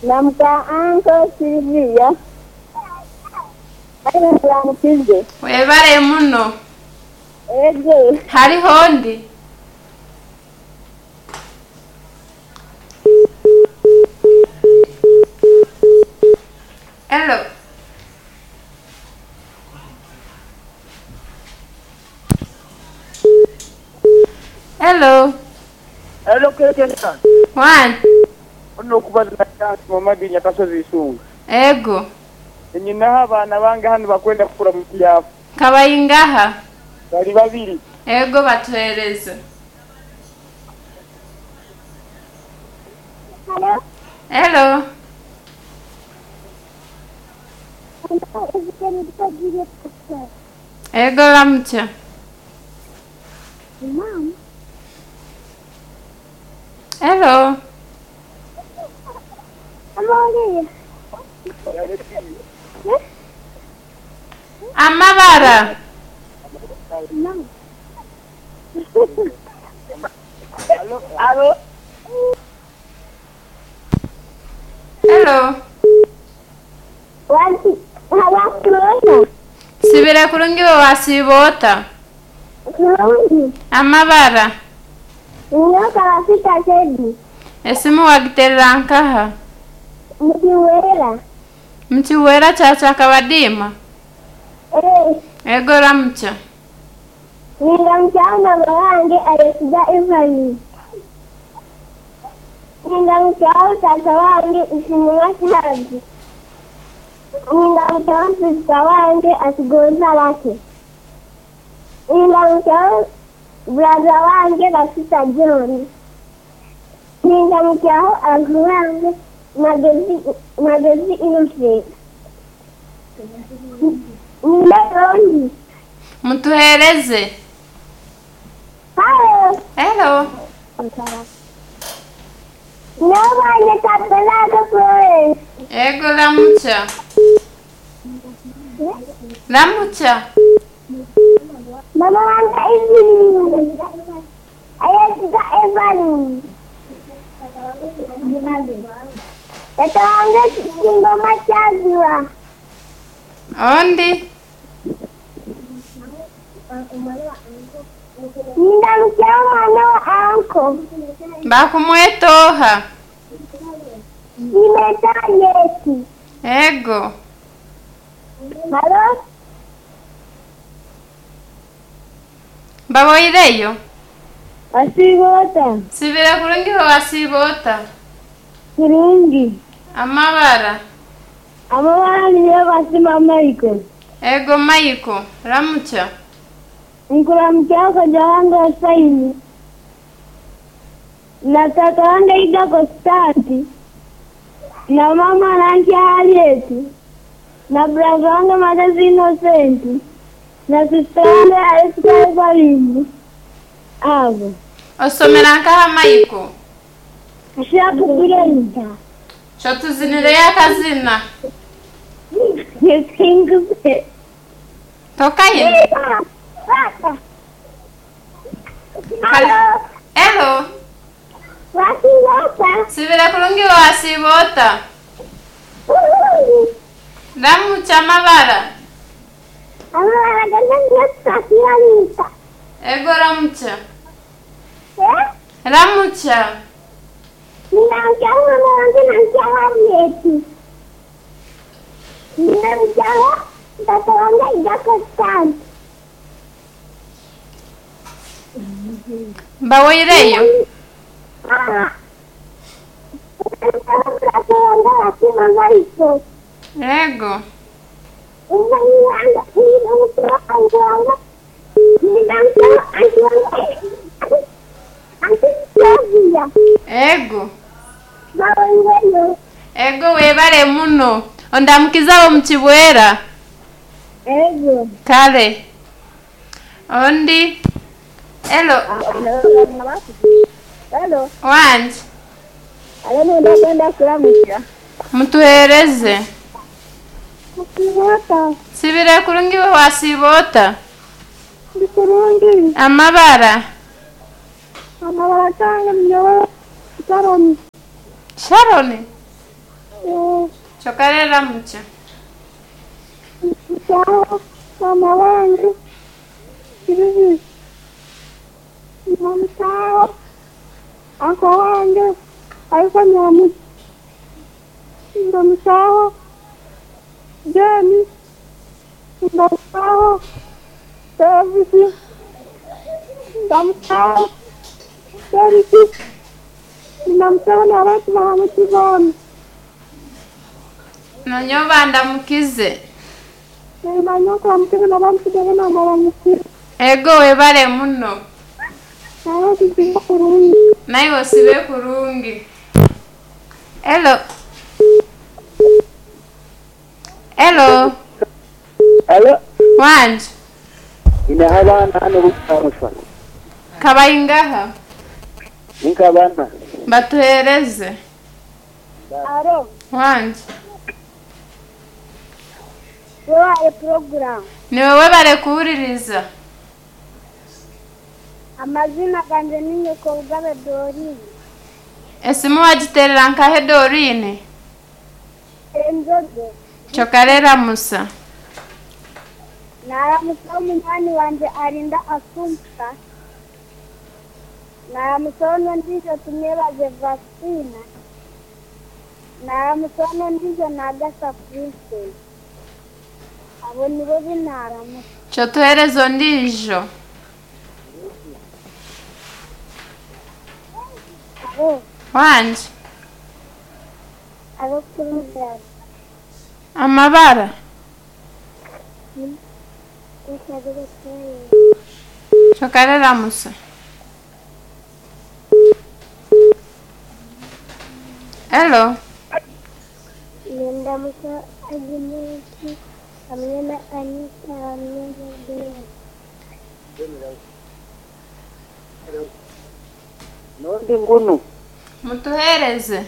Na muka Uncle Sylvia. Aye nkuramukize. Webale muno. Ego. Hariho ondi? Hello. Hello. Hello Kekesa. One. Ono okubaza na Chance Mamadi Nyakasozi Isunga. Ego. Nyinaho abaana bange hanu bakwenda kukura mu kyafu. Kabayingaha. Bali babiri. Ego batuhereze. Hello. Hello. Ego ramutya. Mom. Hello. Amawulire. Amabara. No. Alo. Hello. Wakurona. Sibira kurungi we wasiibota. Kurungi. Amabara. Nyoka bafita sedi. Esimu wagiterera nkaha. Mukiwera. Mchiwera chacha kabadima. Eh. Ego ramutya. Ninga mchana wange ayesiga Evelyn. Ninga mchao tata wange isinema Shazi. Ninga mchao sista wange asigonza lake. Ninga mchao brother wange Bafita John. Ninga mchao uncle wange Magezi Magezi Innocent. Ninga Rondi. Mutuhereze. Hello. Hello. Nobody tapelaka Florence. Ego ramutya. Ramutya. Mama wanga Evelyn. Ayesiga Evelyn. Tata wange Kingoma Chaziwa. Ondi. Ninda mchao mwana wa anko. Bakumwetoha. Nimeta Yeti. Ego. Halo? Baboireyo. Asibota. Sibira kurungi we wasiibota. Kurungi. Amabara. Amabara niyo basima Michael. Ego Michael. Ramutya. Nkula mchao koja wange Hussaini. Na tata wange Ida Konstanti. Na mama Nanki Harriet. Na brother wange Magezi Innocent. Na sister wange Esther Evelyn. Abo. Osomera nkaha Michael. Shakugurenta. Shotuzinireyo akazina. Singupe. Tokayina. Hello. Hello. Wasibota. Sibira kurungi we wasiibota. Ramutya amabara. Amabara gana Ego ramutya. Eh? Ramutya. Ninamchao mama wange namchao Harriet. Ninamchao mtoto wange Ida Constant. Bawoireyo. Ah. Mtoto wange Wasima Michael. Ego. Ninamchao auntie wange Auntie Sylvia. Ego. Bawoireyo. Ego webale muno. Ondamukiza omu kibwera. Ego. Kale. Ondi. Hello. Hello. Wanje. Alo nenda kuramutya. Mutuhereze. Asibota. Sibira kurungi we wasiibota. Ndi kurungi. Amabara. Amabara gange mnyowe Sharon. Sharon. Kyokka reero mukye. Sawa, mama wangu. Sylvie. Mama anko wange alikuwa nyamu ndamusaho Jeni ndamusaho David ndamusaho David ndamusaho n'abantu bahamukibona. Nanyoba ndamukize. Nanyoka bamukize n'abamukize n'abamukire. Ego webale muno. Nawe tusibe kurungi. Naye osibe kurungi. Hello. Hello. Hello. Wanje. Ine abaana hano bukutamusa. Kabayingaha. Ninka abaana. Batuhereze. Aro. Wanje. Wewe program. Ni wewe barekuwuliriza. Amazina ganje ni Nyokorugabe Dorine. Esimu wagiterera nkahe Dorine? Enzoge. Kyokarera Musa. Naramusaho munywani wanje arinda Assumpta. Naramusaho n'ondiijo tumwebaze Vastina. Naramusaho n'ondiijo Nagasa Princess. Abo nibo binaramusa. Kyotuhereza ondiijo. Abo. Wanje. Abo program. Amabara. Kyokarera Musa. Hello. Nindamusa Agnes hamwe na Anita hamwe na Bella. Nondi ngunu. Mutuhereze.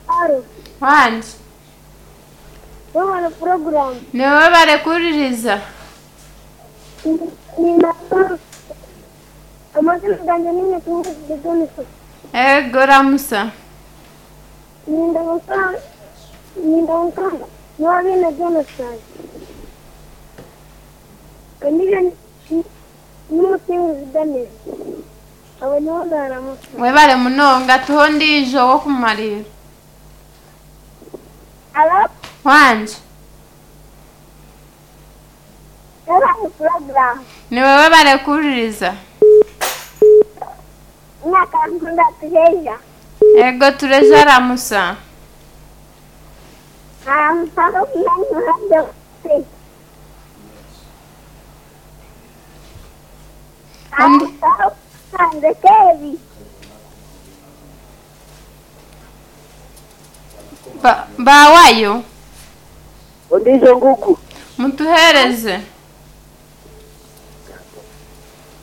Aro. Wanje. Wewe program. Ni wewe barekuwuliriza. Amazina ganje ni Nyokorugabe Dorine. Ego Ramusa. Nindamusa Nwabine Jonathan. Kandiga n'umusingizi Daniel. Abo nibo naramusa. Webale munonga tuho ondiijo w'okumalira. Alo. Wanje. Wewe program. Ni wewe barekuwuliriza. Nakakunda tuheja. Ego tureja Ramusa. Naramusaho munywani wanjye se. Naramusaho hanze Kevi. Bawayo. Ondiijo ngugu. Mutuhereze.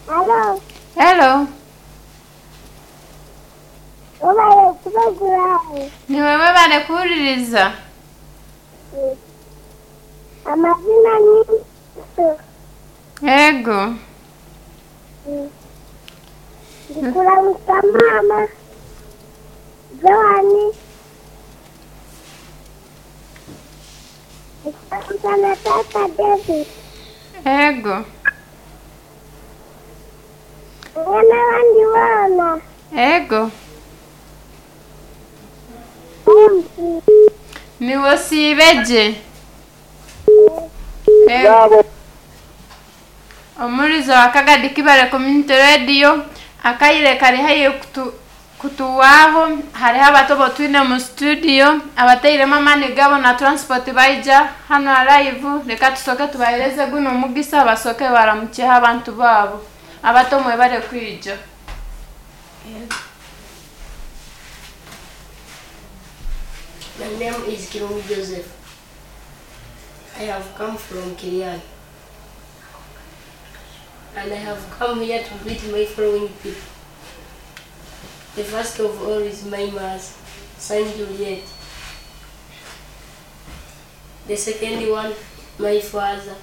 Alo. Hello. Wewe program. Ni wewe barekuwuliriza. Amazina ni Ego. Ndikuramusa mama Joani. Ndikuramusa na tata David. Ego. Hamwe n'abandi bana. Ego. Niwe osiibeje. Ego. Yabo. Omurizo wa Kagadi Kibale Community Radio akaire kari haihi kutuwaho hariho abato botwine mu studio abateiremu amaani gabo na transport baija hano live reka tusoke tubahereze guno omugisa basoke baramukyeho abantu baabo abato mwebale kwija. My name is Kirungi Joseph. I have come from Kiriani. And I have come here to greet my following people. The first of all is my mother, Saint Juliet. The second one, my father,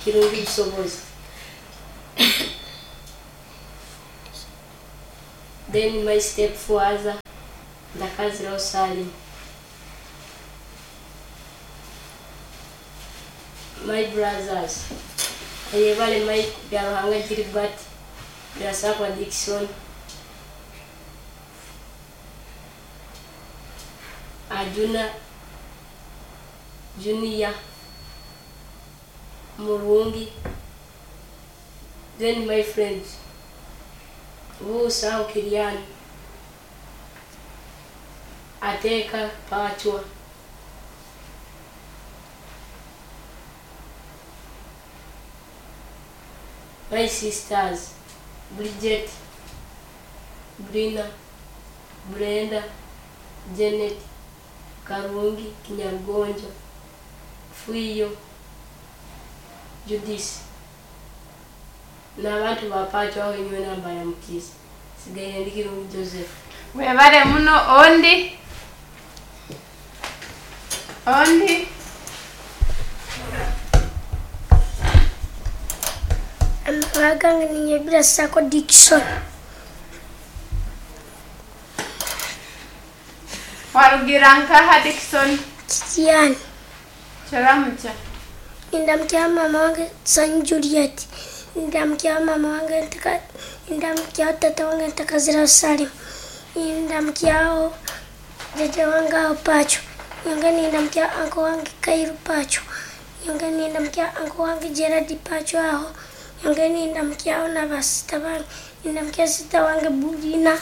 Kirungi Sobos. Then my stepfather, Ndakazirao Salim. My brothers, Ayebale Mike, Byaruhanga Gilbert, Birasakwa Dickson, Ajuna Junior, Murungi, then my friends, Busa Kiriani, Ateka Pachwa. My sisters, Bridget, Brina, Brenda, Janet, Karungi, Kinyarugonjo, Fuiyo, Judith. N'abantu ba Pachwa aho nyowe nambaramukiza. Sigaire ndi Kirungi Joseph. Webale muno. Ondi, ondi. Amabara gange ni Birasako Dickson. Warugira nkaha, Dickson? Kitiani. Kiramukya. Ndamukya mama wange San Juliet. Ndamukya mama wange ntaka, ndamukya tata wange Ntakazira Salim. Ndamukyaho jaja wange aho Pacho. Nyonge nindamukya uncle wange Kairu Pacho. Nyonge nindamukya uncle wange Gerard Pacho aho. Nyonge nindamukyaho na basita bange. Ndamukya sita wange Bulina,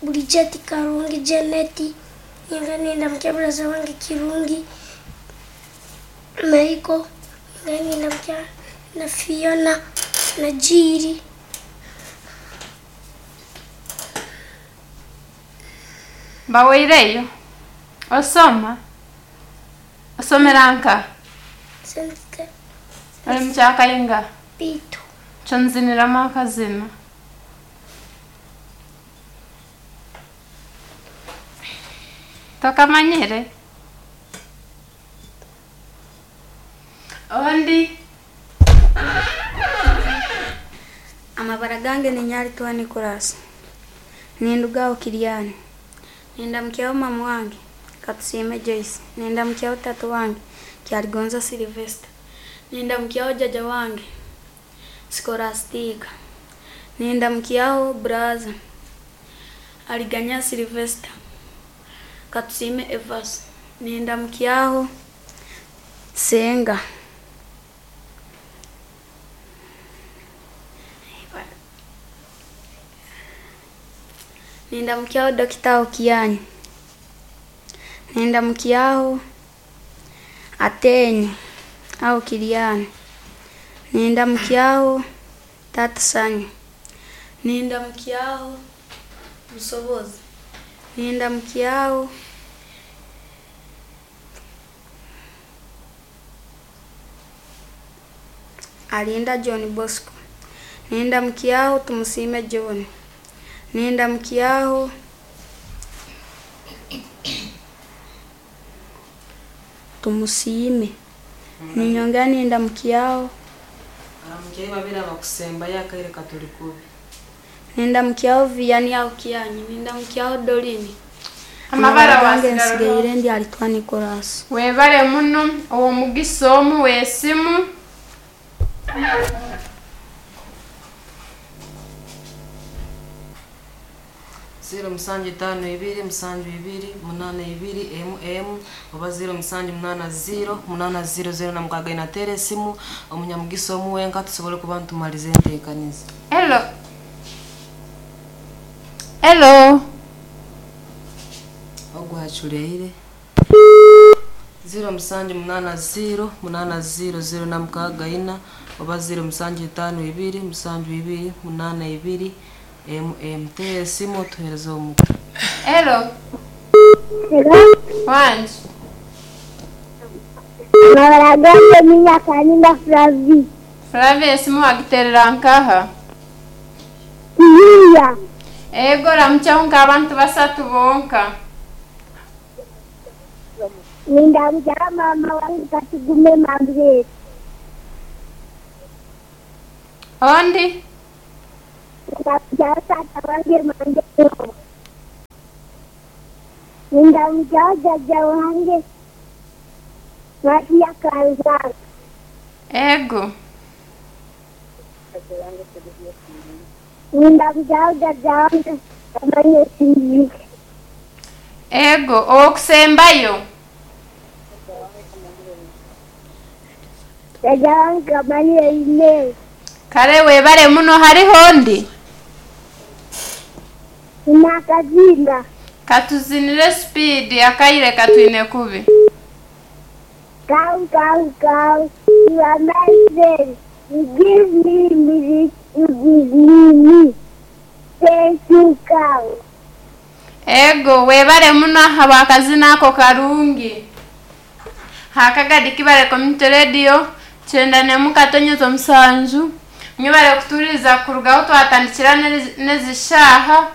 Bridget Karungi, Janet. Nyonge nindamukya brother wange Kirungi Michael. Nyonge nindamukya na Fiona na Jiri. Baweireyo? Osoma? Osomera nka? Sente. Ori mukyakayinga? Bitu. Kyonziniramu akazina. Tokamanyire? Ondi. Amabara gange ni Nyarituwa Nicholas. Nindugaho Kiriani. Nindamukyaho mama wange Katusime Joyce. Nindamukyaho tata wange Kyaligonza Sylvester. Nindamukyaho jaja wange Scholastica. Nindamukyaho brother Aliganya Sylvester. Katusime Evas. Nindamukyaho Senga. Nindamukyaho Dokita Okiani. Nindamukyaho Atenyi au Kiriani. Nindamukyaho Tata Sanyu. Nindamukyaho Musobozi. Nindamukyaho Alinda John Bosco. Nindamukyaho Tumusime John. Nindamukyaho Tumusiime. Ninyongera nindamukyaho. Aramukyayo babiri abakusembayo akaire katuli kubi. Nindamukyaho Vianney aho Kianyi. Nindamukyaho Dolini. Amabara gange wasigara. nsigaire ndi Alitwa Nicholas. Webale muno ow'omugisa omu w'esimu. Ziro musanju itaano ibiri musanju ibiri munaana ibiri emu emu oba 0780 800 06 inateera esimu omunyamugisa omu wenka tusobole kuba ntumaliza enteekaniza. Hello. Hello. Ogwaculeire 0780 800 064 oba 0752 72 82 emu emu. Teera esimu otuheereze omuka. Hello. Hello. Wange. Amabara gange ni Nyakaninga Flavi. Flavia, esimu wagiterera nkaha? Kiyiya. Ego, ramukyaho nk'abantu basatu bonka. Nindamukya mama wange Katigume Margaret. Ondi. Ndamukya tata wange Mandelo. Ndamukya jaja wange Matia Kanzaka. Ego. Nindamukiaho jajja wange Kamanye Silivia. Ego, ow'okusembayo. Jajja wange Kamanye Inez. Kare webare muno hariho ondi? Nakazinga. Katuzinire speed akaire katwine kubi. Cow, cow, cow, you are my friend. You give me milk, you give me meat. Thank you, cow. Ego, webare muno ahabw'akazina ako karungi. Hakagadi Kibale Community Radio, 91 katonyeza 7. Mwebare kutuhuririza kuruga ahu twatandikira n'ezi shaaha.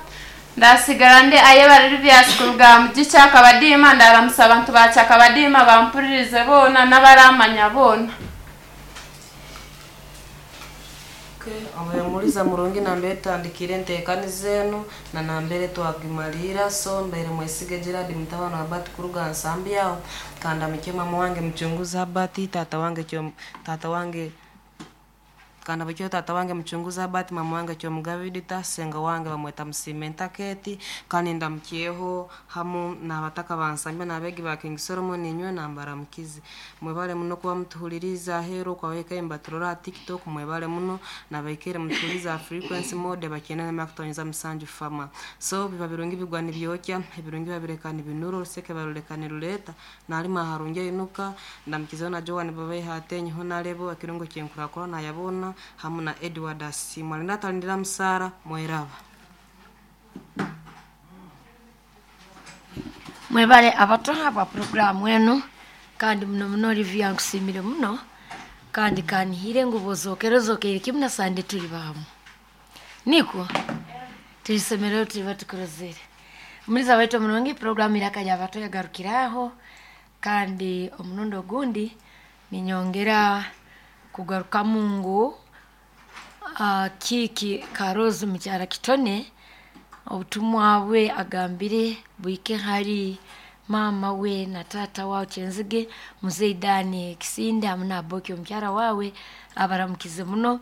Ndasigara ndi ayebare Livias kuruga aha mugi Kyakabadiima, ndaramusa abantu ba Kyakabadiima bampuririze boona n'abaramanya boona. Okay, omuliza murungi nambere tutandikire enteekaniza enu na nambere twagimaliira so mbaire mwesige Gerard mutabani wa Bati kuruga nsambi aho kandamukye mama wange muchunguzi Habati tata wange kyo tata wange kandamukye tata wange muchunguzi Habati mama wange Kyomugabidita senga wange bamweta Musimenta Keti kandi ndamukyeho hamu n'abataka bansambya n'abeegi ba King Solomon inywe nambaramukize mwebale muno kuba mutuhuliriza aheeru okwabaikaire nibaturora aha TikTok mwebale muno nabaikaire mutuhuliriza aha frequency mode bakyenda na 7 fama so biba birungi bigwa nibyokya ebirungi babireka nibinura oruseke barureka nirureta narima aharungi ainuka ndamukizeho na Joan Babaiha atenyeho narebo ekirungo kyenkurakura nayabona hamu na Edward Asiimwe alinda atalindira musaara mweraba. Mwebale abato aba programu enu kandi muno muno Olivia nkusiimire muno kandi kanihire ngu bozokere ozokere kimu na Sande tuli bahamu nikwo tulisemerero tuliba tukurozere muliza waitu omurungi programu iraka abato yagarukiraho kandi omurundi ogundi ninyongera kugarukamu ngu kiki Karozi mukyara Kitone obutumwa bwe agambire bwike hari mama we na tata wawe Kyenzige muzei Dani Kisinde hamu na Aboki omukyara wawe abaramukize muno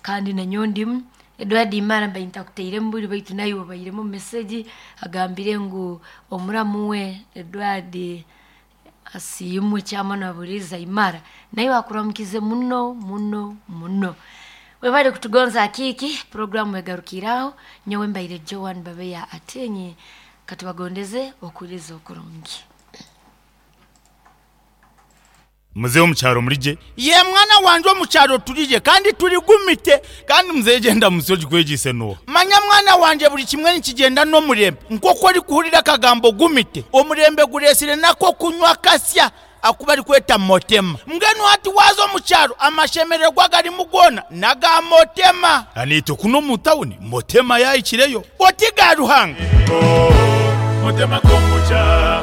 kandi nanyowe ndimu Edward Imara mbaire ntakuteiremu buri baitu naiwe obairemu message agambire ngu omuramu we Edward Asiimwe kyamana Buriza Imara naiwe akuramukize muno muno muno. Webale kutugonza akiki programu egarukiraho nyowe mbaire Joan Babeya atenye katubagondeze okuliza okurungi. Muzehe omukyaro murigye? Ye mwana wanje omukyaro turigye kandi turigumite. Kandi muzehe gyenda musi ogikwegyise n'oha? Manya mwana wanje buri kimwe nikigyenda n'omurembe. Nk'oku orikuhurira akagambo gumite, omurembe gureesire nako kunywa kasya aku barikweta motema. Mbwenu hati waaza omu kyaro amashemererwa agarimu goona n'aga motema. Aniitwe kunu omu tawuni motema yaahikireyo. Oti ga Ruhanga. Motema kombucha.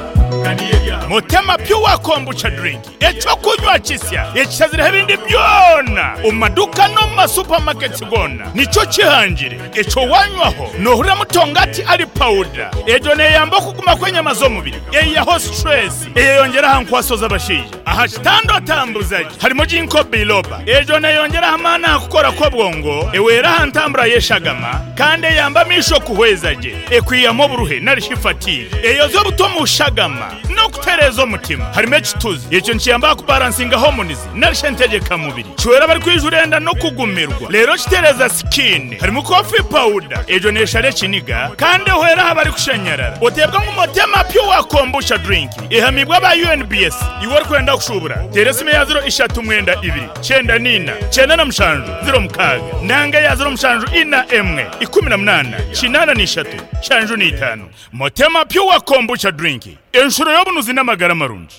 Motema Pure Kombucha Drink ekyokunywa kisya ekishazireho ebindi byona omu maduuka n'omu masupamaketi goona nikyo kihangire ekyo wanywaho noohurira mutongati ari pawuda egyo neeyamba okuguma kw'enyama z'omubiri eihaho stress eyeyongyera aha nkwaso z'abashaija aha kitanda otambuza gye harimu ginkgo biloba egyo neeyongyera aha maani aha kukora kw'obwongo ehwera aha ntambura y'eshagama kandi eyamba amaisho kuhweza gye ekwihamu oburuhe nari shi fatigue eyoza obuto omu shagama n'okutereeza omutima. Harimu ekituzi, ekyo nikiyamba aha kubaransinga hormones nari shi entegyekamubiri. Kihwera abarikwijura enda n'okugumirwa reero kitereeza skin. Harimu coffee powder, egyo neeshara ekiniga kandi ehwera aha barikushanyarara. Oteebwa ngu Motema Pure Kombucha Drink ehamiibwe aba UNBS. Iwe orikwenda kushuubura, teera esimu eya ziro ishatu mwenda ibiri, kyenda n'ina, kyenda na mushanju, ziro mukaaga nanga eya ziro mushanju ina emwe, ikumi na munaana, kinaana n'ishatu, nshanju n'itaano. Motema Pure Kombucha Drink, enshuro y'obunuzi n'amagara marungi.